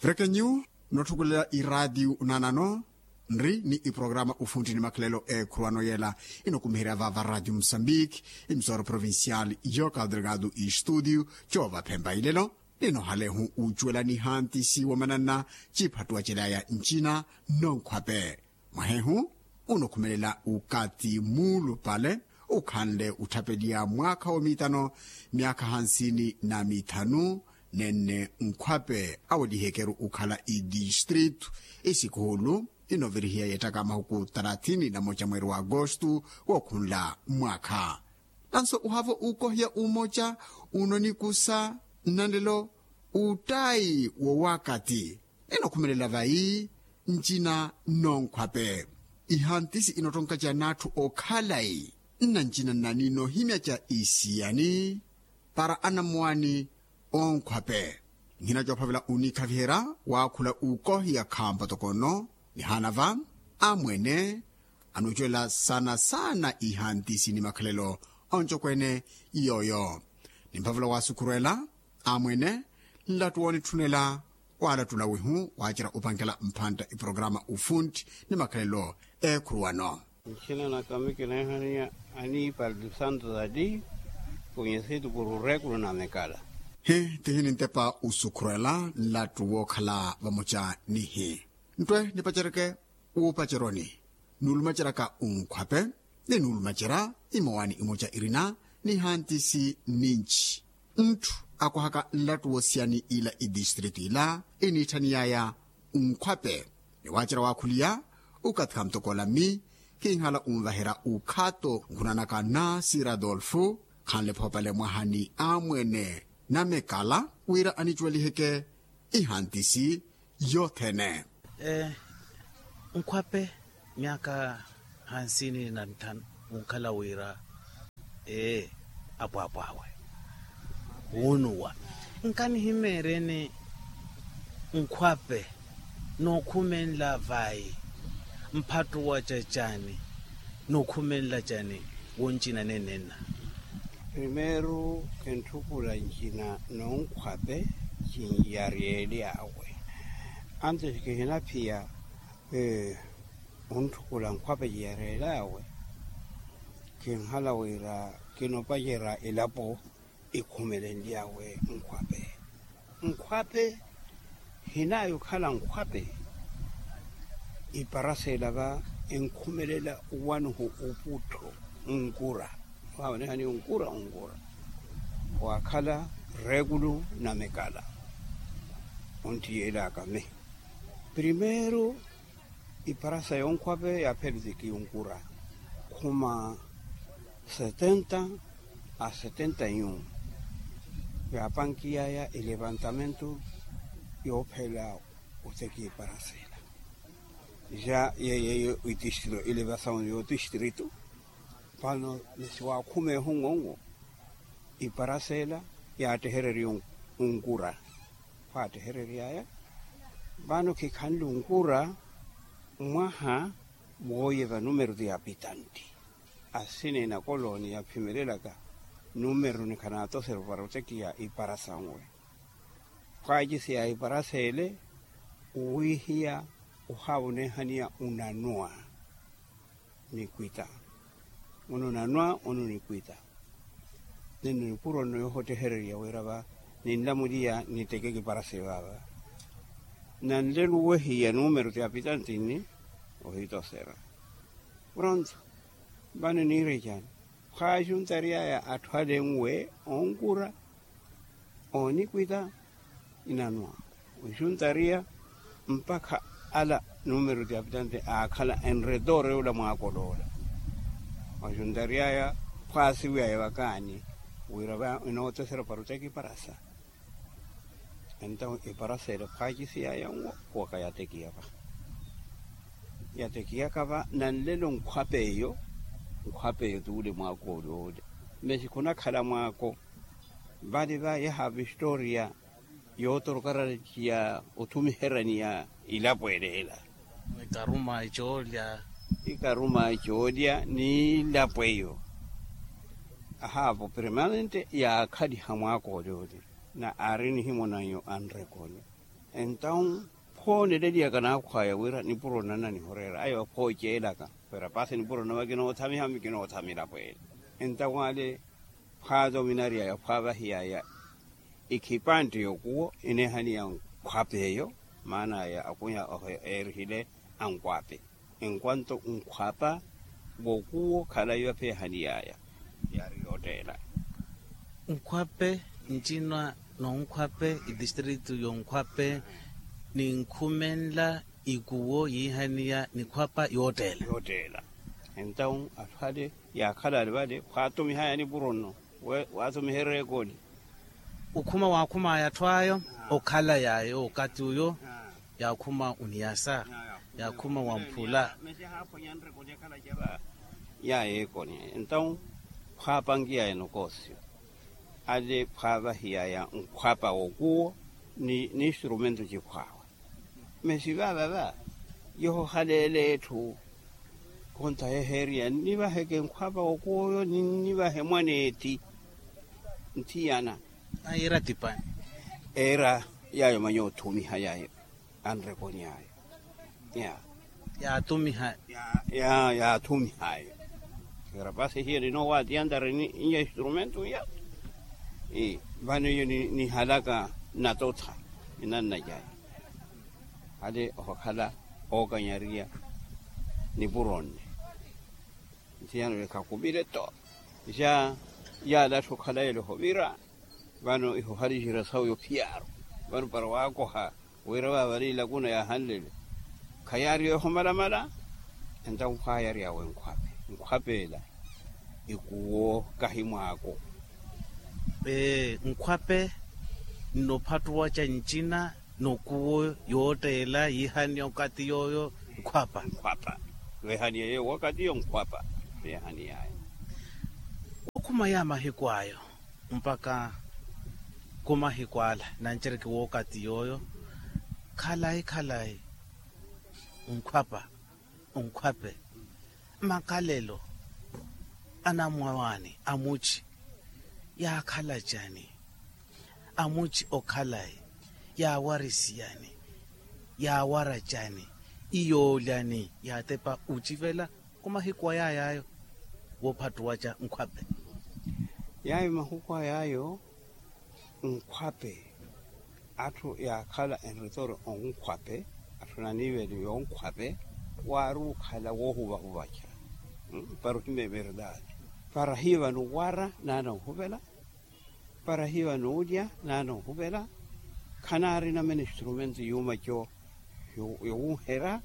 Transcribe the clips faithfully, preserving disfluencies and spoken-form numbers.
Pekenyu, nothukulela iraatiyu nanano nri ni iprograma ufuntti ni makhalelo eekhuruwano yela inokumiherya vava raatiyu musambiki, imisoro provincial yoka delgado istudiyu. Coova phempa ilelo ninohalehu ucuwela nihantisi womananna ciphattuwa celaya ncina nonkhwape. Mwahehu unokhumelela ukati muulupale ukhanle utthapeliya mwaakha wa miitano myaakha hansini na mithanu, nenne nkhwape awelihekeru ukhala itistritu. Isikuhulu inovirihiya yeettaka mahuku talathini na moca mweeri wa agostu wookhunla mwaakha. Nanso uhaavo uukohiya umoca unonikusa nnanlelo uttayi wowakati. Enokhumelela vayi ncina nnonkhwape. Ihantisi inottonkaceya n'atthu okhalayi nnancina nnani noohimyaca isiyani para anamwaani onkhwape. Nhina coophavela oniikhaviherya waakhula ukohiya khampa toko nno nihaana va amwene anuucuwela saana saana ihantisi ni makhalelo oncokwene yooyo. Nimphavula waasukhurwela amwene nlattu woonitthunela waalattula wihu waacerya opankela mphantta iprograma ufuntti ni makhalelo eekhuruwano. Nchina na kami kineehaniya aniipali santo zati kunyesitu kuri ureekulu na mekala. Hi tihi nintepa usukhurwela nlattu wookhala vamoca nihi nttwe nipaceryeke wuupaceryoni nuulumaceryaka unkhwape ni nuulumacerya imowaani imoca irina nihantisi ninci. Ntthu akohaka nlattu woosiyani ila idistritu ila iniitthaniyaya unkhwape ni waacerya waakhuliya ukathi khamutokoola mmi kinhala unvaherya ukhato nkhunanaka na sir adolfu khanle phoopale mwaha ni amwene namekala wira anicuweliheke ihantisi yothene. Nkhwape myaakha hansini na nthanu unkhala wira ee apwaapwaawe wuunuwa nkanihimeeryeni nkhwape nookhumenla vayi mphattuwa cacani nookhumenla cani woncina nenenna. Primeiro kintthukula ncina noonkhwape cinyaryelyawe antes kihinaphiya ontthukula nkhwape cinyaryelyawe kinhala wira kinopacerya elapo ikhumelenlyawe nkhwape. Nkhwape hinayi okhala nkhwape iparasela va enkhumelela owanuhu oputtho onkura. Waawonehani onkura onkura waakhala reekulu na mekala ontthiyelaka mi primeiro iparasa yonkhwape yaaphela otekiya onkura khuma setenta a setenta yu yaapankiyaya elevantamento yoophela otekiya iparasa ela ja yeye yo itistrito elevasaw yo tistrito. Vano nisiwaakhumeeho onwonwo iparasa ela yaattehererya onkura khwaattehereryaya. Vano khikhanle onkura mwaha wooye va numero ti apitanti asina ena kolonia phimelelaka numero ni khanaatosera para otekiya iparasa onwe khwaacisiya iparasa ele owiihiya ohaawonehaniya onanwa nikwita ono nanwa ono nikwita. Nino nipuro nno yoohottehererya wira va ninlamuliya niteke kiparase vaava nanlelo owehiya numero ti apitanti nni ohitosera pronto. Vano niirechani khwaaxuntaryaya atthu ale enwe onkura oonikwita inanwa oxuntariya mpakha ala numero ti apitante aakhala enretor yoola mwaakolo ola. Oxuntariyaya khwaasiwiyaya vakaani wira va inootesera para otekiparasa. Entawo iparasa ele khwaakisiyaya nwo khuwaka yatekiyaka yatekiyaka va nanlelo nkhwapeyo nkhwapeyo tuule mwaakoli oole. Mesi khunakhala mwaako vale va yaha vistoria yootorokarana ciya othumiherani ya ilapo eleela. Ikaruma ecoolya ikaruma ecoolya ni ilapo eyo. Ahaavo permanente yaakhaliha mwaakoli oole na aari nihimona nyo anrekoni. Entawu phooneleliyaka naakhwaya wira nipuro nnananihoreera ayo phooceelaka. Wira paasi nipuro nnava kinoothamiha mi kinoothamila pweene. Entawu ale phwaatominariyaya phwaavahiyaya ikhipantte y'okuwo ineehaniya nkhwapeeyo. Maanaya akwiha oho eerihile ankhwape enkwanto nkhwapa w'okuwo khalayi vapheehaniyaya. Yaari yoottela. Nkhwape ncina nonkhwape itistritu yonkhwape ninkhumenla ikuwo yiihaniya nikhwapa yoottela. Yoottela. Entawu atthu ale yaakhala ali vale khwaatumihaya nipuro nno waatumiherya ekoli. Okhuma waakhumaya atthu ayo okhala yayo okati uyo. Yaakhuma oniyasa yaakhuma wamphula. Yaya ekoni entawu khwaapankiya eno koosiyo ale khwaavahiyaya nkhwapa w'okuwo ni instrumento cikhwaawe. Mesi vaavava yoho haleele etthu khontaheheeriya nnivaheke nkhwapa w'okuwo oyo ninnivahe mwaneetti. Nthiyana ayiira tipani. Eera yaayo manya othumiha yaayo anrekoni ayo. Ya yaatumiha ya yaathumiha ayo. Rapasi hiyo ninoowatiyantari ni instrumentu ya vano iyo nihalaka natotha inanna cayi. Ale ohokhala ookanyariya nipuro nne nthiyano lekhakhumile to. Ja yaala atthu okhalayi ele ohovira. Vano iho haliihira sawu yophiyaaru vano para waakoha wira vaavale ilakuna yaahanlele. Khayaari yoohomalamala entawu khwaayaryawe nkhwape nkhwape ela ikuwo kahi mwaako. Ee nkhwape nnophattuwa ca ncina nokuwo yootteela yiihaniya okathi yooyo nkhwapa nkhwapa. Weehaniya yeewo okathi yo nkhwapa. Weehaniyaya. Okhuma ya mahiku ayo mpakha khumahiku ala nancereke wookathi yooyo khalayi khalayi onkhwapa onkhwape makhalelo anamwawaani amuci yaakhala cani? Amuci okhalayi yaawarisiyani? Yaawara cani? Iyoolyani yaatepa ocivela khumahiku ayayaayo woophattuwa ca nkhwape. Yaayo mahuku ayaayo nkhwape atthu yaakhala enritoro onkhwape atthu naniiveliwe onkhwape waari okhala woohuvahuvaca. Para ohimya everdade para hiiva nuwara naana ohuvela para hiiva nuulya naana ohuvela. Khanaarina mene instrumento yuuma co yowunherya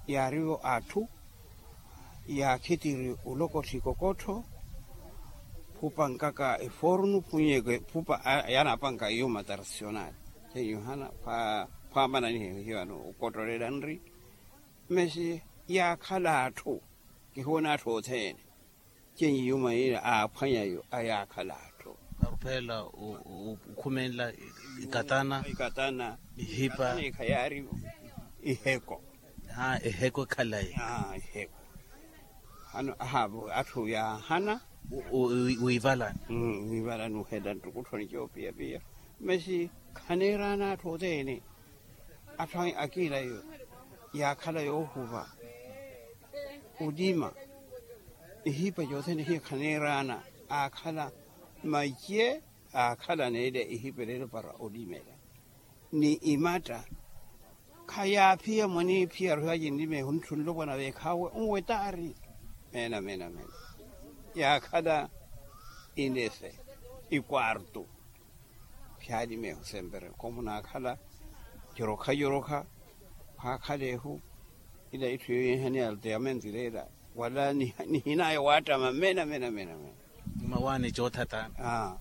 yaarivo atthu yaakhitiri olokotthi kokottho khupankaka efornu phunnyeke khupa yaanapanka iyuma tradicional. Khenyuhana khwaamana nihiyo hivano okottolela nri mesi yaakhala atthu kihoona atthu othene. Khenyiyuma yina aaphwanyayo ayaakhala atthu. Aruphela okhumenla ikatana ikatana ihipa ikhayaari iheko. Eheko ekhalayi eheko. Hano ahaavo atthu yaahana wiivalani wiivalani ohela ntukutthoni coopiyapiya. Masi khaneeraana atthu othene atthu akiila yaakhala yoohuva olima ihipa cothene hiyo khaneeraana aakhala mace aakhala neele ihipa eleelo para olimela ni imatta. Khayaaphiya mwaniiphiya aruhiwaci nlimeehu ntthu nlopwana veekhaawe onwetaari meena meena meena yaakhala inese ikwartu. Pyaali meeho sempere koomunaakhala jorokha jorokha khwaakhala ehu ila itthu yoyinhaniya alteyamenti leela wala nihinaya waattama mena mena mena mena. Mmawaani coothatana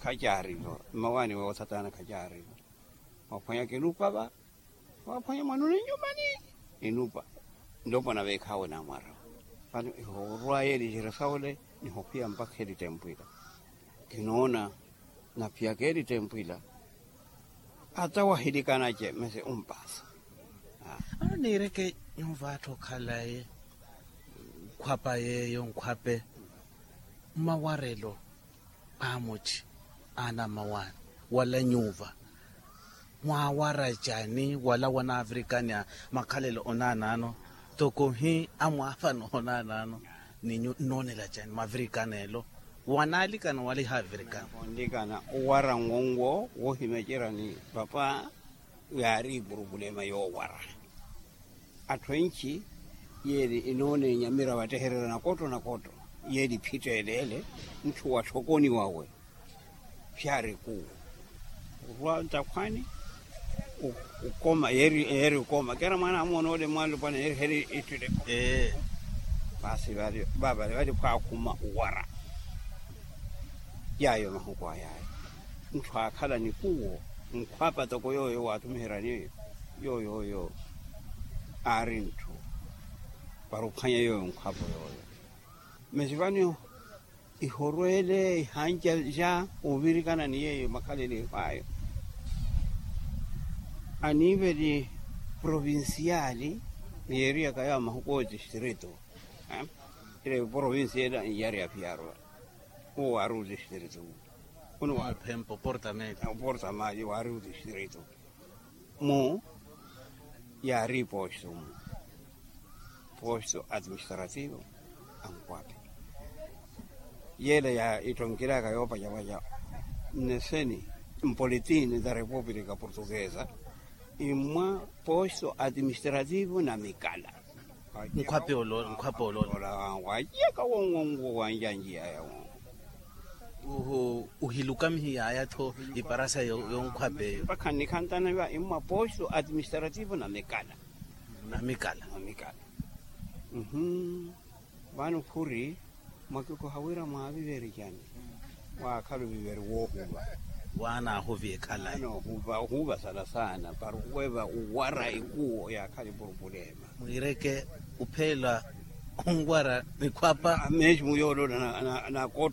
khacaarivo mmawaani woothatana khacaarivo. Mwaphwanya kinupa va mwaphwanya mwanuni nyumani inupa. Nlopwana veekhaawe naamwarawa vano ihoorwaya elicerya sawole nihokhwiya mpakha elitempwila. Kinoona naphiyaka elitempwila ata wahilikanace mese ompaasa. Ano niireke nyuva atthu okhalaye nkhwapa yeeyo nkhwape mmawarelo amuci anammawaani wala nyuva. Mwaawara cani wala wanaavirikani a makhalelo onaanaano? Toko hi amwaafano onaanaano ni nyu nnoonela cani mavirikani elo? Wanaalikana wala ihaavirikana? Onlikana owara ngongo woohimecerya ni papa yaari ipurupulema yoowara. Atthu enci yeeri inoona enyamira watehererya nakotto nakotto yeeri iphitteleele ntthu wa tthokoni wawe. Pyaari kuwo orwa nttakhwani. Ukoma yeeri ukoma kera mwaana amoona ole mwaalupwana yeeri heri ittile. Paasi vale vale vale pwaakhuma uwara. Yaayo mahuku ayaayo ntthu aakhala ni kuwo nkhwapa toko yooyo waathumiheryani yooyo yooyo aari ntthu para ophwanya yooyo nkhwapo yooyo. Masi vano ihorweele ihanca ja ovirikana ni yeeyo makhalelo ehwaayo. Aniiveli provinciali yeeriyaka yaawo mahuku otistrito. Ile provinciali iyari ya piarwa uwo waari otistrito. Uno waari oportamali waari otistrito. Mu yaari iposto mu posto administrativo. Ankwaphi yeela ya ittonkilaka yoopacapaca nneseni mpolitini da repupulika portuguesa. Imwa posto administrativo na mikala. Nkhwape olola nkhwape olola. Waceka wongongo wanjanjiya yawo. Uhilukamihi yaya tho iparasa yonkhwape eyo. Mpakha nnikhantana iva imwa posto administrativo na mikala. Na mikala. Vano khuri mwakiku hawira mwaaviveri cani? Waakhala oviveri woohuva. Waana ahuvi ekhalayi. Ohuva sana sana para oweeva owara ikuwo yaakhala ipurupulema. Mwiireke upheela onwara nikhwapa. Mesmo yoolola na na na